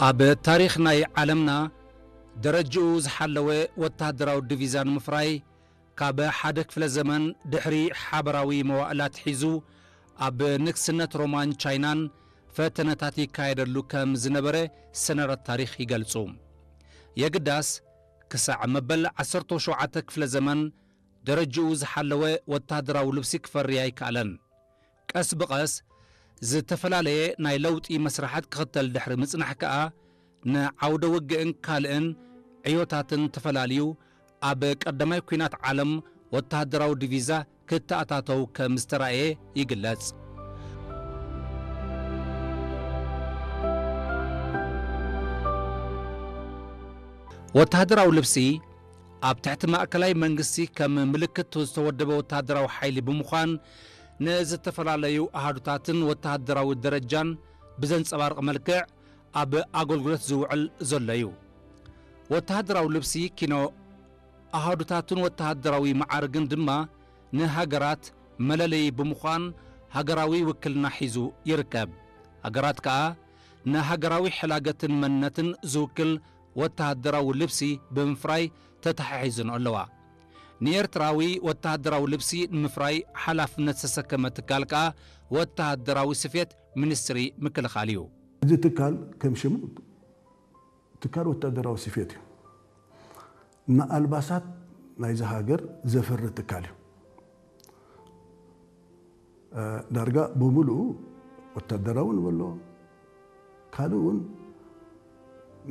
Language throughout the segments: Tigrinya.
ኣብ ታሪኽ ናይ ዓለምና ደረጅኡ ዝሓለወ ወተሃደራዊ ዲቪዛ ንምፍራይ ካብ ሓደ ክፍለ ዘመን ድሕሪ ሓበራዊ መዋእላት ሒዙ ኣብ ንግስነት ሮማን ቻይናን ፈተነታት ይካየደሉ ከም ዝነበረ ሰነዳት ታሪኽ ይገልጹ። የግዳስ ክሳዕ መበል ዓሰርተ ሸውዓተ ክፍለ ዘመን ደረጅኡ ዝሓለወ ወተሃደራዊ ልብሲ ክፈሪ ኣይከኣለን። ቀስ ብቐስ ዝተፈላለየ ናይ ለውጢ መስርሓት ክኽተል ድሕሪ ምጽናሕ ከኣ ንዓውደ ውግእን ካልእን ዕዮታትን ተፈላልዩ ኣብ ቀዳማይ ኲናት ዓለም ወተሃደራዊ ዲቪዛ ክተኣታተው ከም ዝተራእየ ይግለጽ። ወተሃደራዊ ልብሲ ኣብ ትሕቲ ማእከላይ መንግስቲ ከም ምልክት ዝተወደበ ወተሃደራዊ ሓይሊ ብምዃን ንዝተፈላለዩ ኣሃዱታትን ወተሃደራዊ ደረጃን ብዘንጸባርቕ መልክዕ ኣብ ኣገልግሎት ዝውዕል ዘሎ እዩ። ወተሃደራዊ ልብሲ ኪኖ ኣሃዱታትን ወተሃደራዊ መዓርግን ድማ ንሃገራት መለለዪ ብምዃን ሃገራዊ ውክልና ሒዙ ይርከብ። ሃገራት ከኣ ንሃገራዊ ሕላገትን መንነትን ዝውክል ወተሃደራዊ ልብሲ ብምፍራይ ተተሓሒዘን ኣለዋ። ንኤርትራዊ ወተሃደራዊ ልብሲ ንምፍራይ ሓላፍነት ዝተሰከመ ትካል ከኣ ወተሃደራዊ ስፌት ሚኒስትሪ ምክልኻል እዩ። እዚ ትካል ከም ሽሙ ትካል ወታደራዊ ስፌት እዩ። ንኣልባሳት ናይዚ ሃገር ዘፍሪ ትካል እዩ። እ፣ ዳርጋ ብምሉኡ ወታደራዊ ንበሎ፣ ካልእ እውን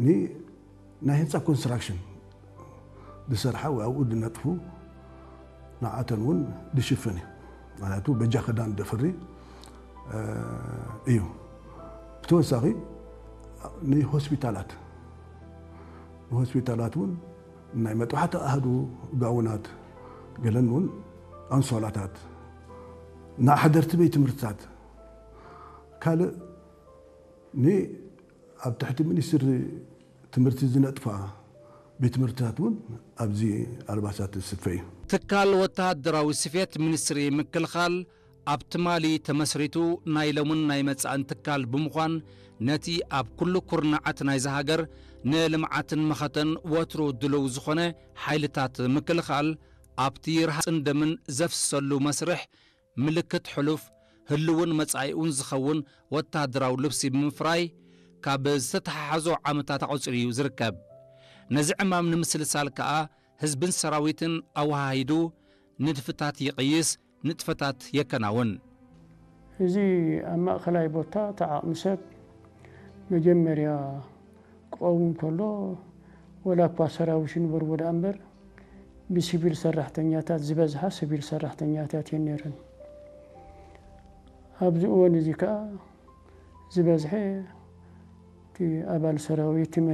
ን-፣ ናይ ህንፃ ኮንስትራክሽን ዝሰርሓ ወይ ኣብኡ ዝነጥፉ ንዓተን እውን ዝሽፍን እዩ። ምክንያቱ በጃ ክዳን ደፍሪ፣ እ፣ እዩ። ብተወሳኺ ንሆስፒታላት፣ ንሆስፒታላት እውን ናይ መጥባሕቲ ኣሃዱ ጋውናት፣ ገለን እውን ኣንሶላታት፣ ንሓደርቲ ቤት ትምህርትታት፣ ካልእ ን-፣ ኣብ ትሕቲ ሚኒስትሪ ትምህርቲ ዝነጥፋ ቤት ትምህርትታት እውን ኣብዚ ኣልባሳት ዝስፈ እዩ። ትካል ወተሃደራዊ ስፌት ሚኒስትሪ ምክልኻል ኣብ ትማሊ ተመስሪቱ ናይ ሎምን ናይ መጻእን ትካል ብምዃን ነቲ ኣብ ኩሉ ኩርናዓት ናይዚ ሃገር ንልምዓትን መኸተን ወትሩ ድሉው ዝኾነ ሓይልታት ምክልኻል ኣብቲ ርሃጽን ደምን ዘፍስሰሉ መስርሕ ምልክት ሕሉፍ ህልውን መጻኢኡን ዝኸውን ወተሃደራዊ ልብሲ ብምፍራይ ካብ ዝተተሓሓዞ ዓመታት ኣቑጺሩ እዩ ዝርከብ። ነዚ ዕማም ንምስልሳል ከኣ ህዝብን ሰራዊትን ኣወሃሂዱ ንድፍታት ይቕይስ፣ ንጥፈታት የከናውን። እዚ ኣብ ማእኸላይ ቦታ እቲ ዓቕሚ ሰብ መጀመርያ ክቐውም ከሎ፣ ወላ እኳ ሰራዊት ይንበርዎ ደኣ እምበር፣ ብሲቪል ሰራሕተኛታት ዝበዝሓ ሲቪል ሰራሕተኛታት እየን ነይረን። ኣብዚ እዋን እዚ ከኣ ዝበዝሐ እቲ ኣባል ሰራዊት፣ እቲ